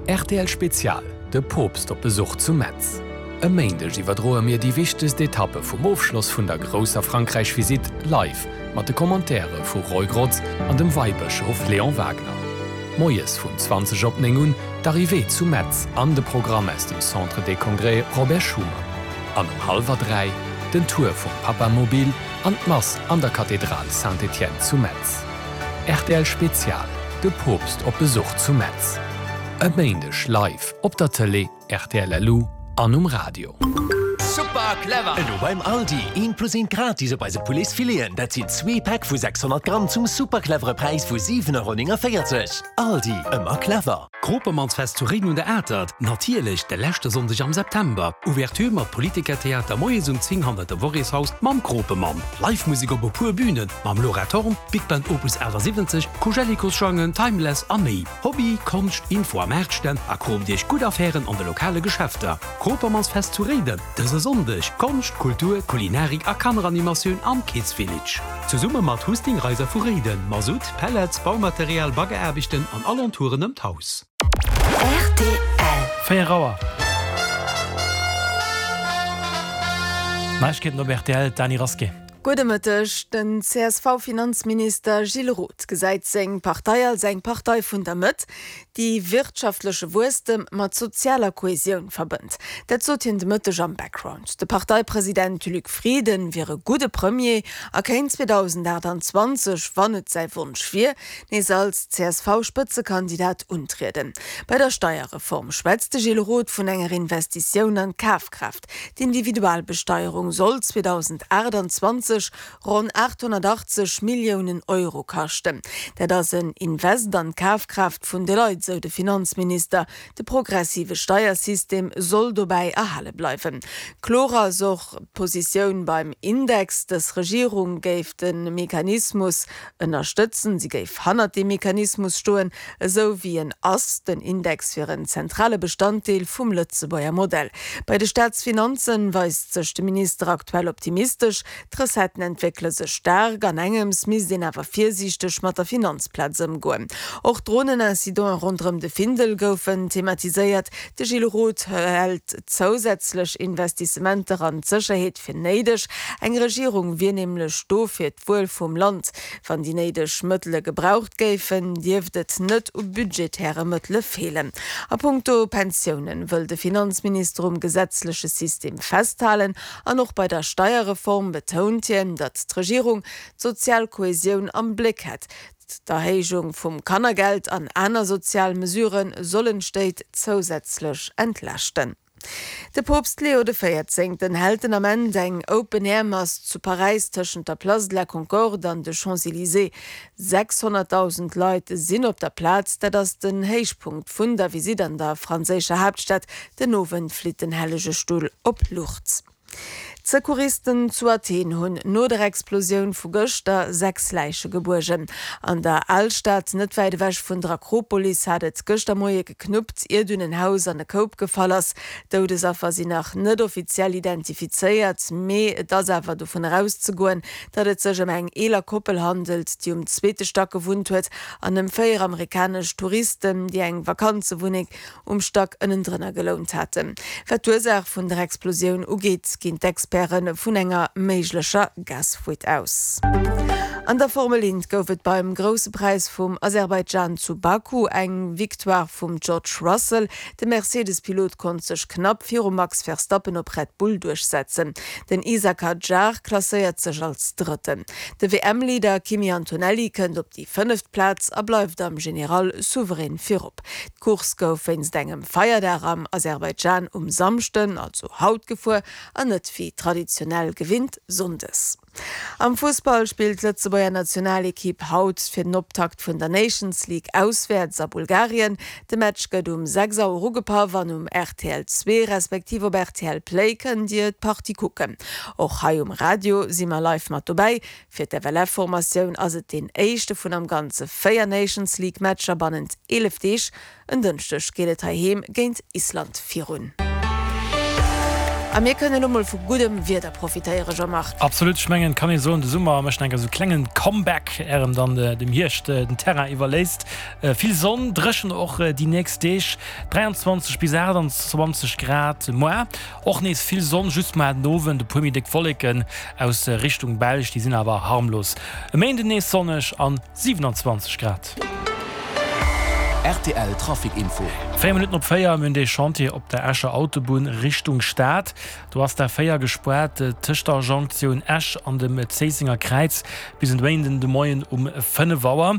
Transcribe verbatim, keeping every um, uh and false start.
Rtl Spezial, De Poopst op Besuch zu Metz. E Méindeg iwwerdroe mir déi wichtegst Etappe vum Ofschloss vun der grousser Frankräich-Visitt live mat de Commentaire vu Roy Grotz an dem Weibëschof Léon Wagner. Moies vun zwanzeg op néng un d'Arrivée zu Metz an de Programm aus dem Centre des Congrès Robert Schuman. An um hallwer dräi den Tour vum Papamobil an d'Mass an der Kathedral Saint-Étienne zu Metz. Rtl Spezial, De Poopst op Besuch zu Metz. E Méindeg live op der Tëlee, rtl LU an um Radio. Super clever! Elo beim Aldi, eent plus eent gratis op eise Pouletsfileten. Dat sinn zwee Päck vu sechshonnert Gramm zum super clevere Präis vu siwen Euro néngenvéierzeg. Aldi, ëmmer clever! Kropemannsfest zu Réiden un der Atert, natierlech de leschte Sonndeg am September. Ouverture mat Politikertheater moies um zéng hannert dem Worréshaus mam Kropemann. Live Musek op e puer Bünen mam Laura Thorn, Big Band Opus achtasiwwenzeg, Koujellikosjangen, Timeless a méi. Hobby, Konscht, Info a Maartstänn a kroopt iech gutt Affären an de lokale Geschäfter. Kropemannsfest zu Réiden, dëse Sonndeg, Konscht, Kultur, Kulinarik a Kanneranimatioun am Kids Village. Zesumme mat Husting Reiser vu Réiden, Masutt, Pellets, Baumaterial, Baggeraarbechten an Alentouren ëm d'Haus. Rtl. Véier Auer. Neiegkeeten op rtl, d'Dany Rasqué. Gudde Mëtteg. Den C S V-Finanzminister Gilles Roth gesäit seng Partei als eng Partei vun der Mëtt, déi wirtschaftleche Wuesstem mat sozialer Kohesioun verbënnt. Dat sot hien de Mëtteg am Background. De Parteipresident Luc Frieden wier e gudde Premier a kéint zweedausendaachtanzwanzeg, wann et säi Wonsch wier, nees als C S V-Spëtzekandidat untrieden. Bei der Steierreform schwätzt de Gilles Roth vun enger Investitioun an d'Kafkraaft. D'Individualbesteierung soll zweedausendaachtanzwanzeg ronn aathonnertachtzeg Milliounen Euro kaschten. Dat ass en Invest an d'Kafkraaft vun de Leit, sou de Finanzminister. De progressive Steiersystem soll dobäi erhale bleiwen. Kloer ass och d'Positioun beim Index. Dës Regierung géif de Mechanismus ënnerstëtzen, si géif hannert deem Mechanismus stoen, esou wéi en ass. Den Index wier en zentrale Bestanddeel vum Lëtzebuerger Modell. Bei de Staatsfinanzen weist sech de Minister aktuell optimistesch. D'Recetten entwéckele sech staark, an engems misst een awer virsiichteg mat der Finanzplaz ëmgoen. Och d'Dronenincidenten ronderëm de Findel goufen thematiséiert. De Gilles Roth hält zousätzlech Investissementer an d'Sécherheet fir néideg. Eng Regierung wier nämlech do fir d'Wuel vum Land. Wann déi néideg Mëttele gebraucht géifen, dierft et net u budgetäre Mëttele feelen. A punkto Pensiounen wëll de Finanzminister um gesetzleche System festhalen an och bei der Steierreform betount hien, datt d'Regierung d'sozial Kohesioun am Bléck hätt. D'Erhéijung vum Kannergeld an aner sozial Mesurë sollen d'Stéit zousätzlech entlaaschten. De Poopst Leo de Véierzéngten hält den Ament eng Open-Air-Mass zu Paräis tëschent der Place de la Concorde an de Champs-Elysées. sechshonnertdausend Leit sinn op der Plaz, dat ass den Héichpunkt vun der Visitt an der franséischer Haaptstad. Den Owend flitt den Hellege Stull op Lourdes. D'Secouristen zu Athen hunn no der Explosioun vu gëschter sechs Läiche gebuergen. An der Alstad, net wäit ewech vun der Akropolis, hat et gëschter Moie geknuppt, ier dunn en Haus an e Koup gefall ass. Doudesaffer sinn nach net offiziell identifizéiert, mee et ass awer dovun erauszegoen, datt et sech ëm eng eeler Koppel handelt, déi um zweete Stack gewunnt huet, an ëm véier amerikanesch Touristen, déi eng Vakanzewunneng um Stack ënnendrënner gelount haten. Wat d'Ursaach vun der Explosioun ugeet, ginn d'Experte vun enger méiglecher Gasfuite aus. An der Formel Eent gouf et beim Grousse Präis vum Aserbaidschan zu Baku eng Victoire vum George Russell. De Mercedes-Pilot konnt sech knapp virum Max Verstappen op Red Bull duerchsetzen. Den Isack Hadjar klasséiert sech als Drëtten. De W M-Leader Kimi Antonelli kënnt op déi fënneft Plaz a bleift am General souverän virop. D'Course gouf wéinst engem Feierdag am Aserbaidschan um Samschden, also haut, gefuer an net wéi traditionell gewinnt sonndes. Am Fussball spillt d'Lëtzebuerger Nationalekipp haut fir den Optakt vun der Nations League auswäerts a Bulgarien. De Match gëtt um sechs Auer ugepaff an um R T L zwee respektiv op R T L Play kënnt Dir d'Partie kucken. Och hei um Radio si mer live mat dobäi. Fir d'F L F-Formatioun ass et deen éischte vun am Ganze véier Nations League Matcher bannent eelef Deeg. En Dënschdeg geet et heiheem géint Island virun. A mir kënnen elo mol vu guddem Wieder profitéieren, Jean-Marc. Absolut, ech mengen, kann ee soen, de Summer mécht enker sou klengen Comeback, är en dann dem Hierscht den Terrain iwwerléisst. Vill Sonn, dréchen och déi nächst Deeg, dräianzwanzeg bis aachtanzwanzeg Grad muar. Och nees vill Sonn, just muar den Owend e puer méi déck Wolleken aus Richtung Belsch, déi sinn awer harmlos. E Méinden nees sonneg an siwenanzwanzeg Grad. Rtl Trafic Info. Véier Minutten op véier, mir hunn dee Chantier op der Escher Autobunn Richtung Stad. Do ass d'A véier gespaart tëscht der Jonktioun Esch an dem Zéissenger Kräiz bis en Méinden de Moien um fënnef Auer.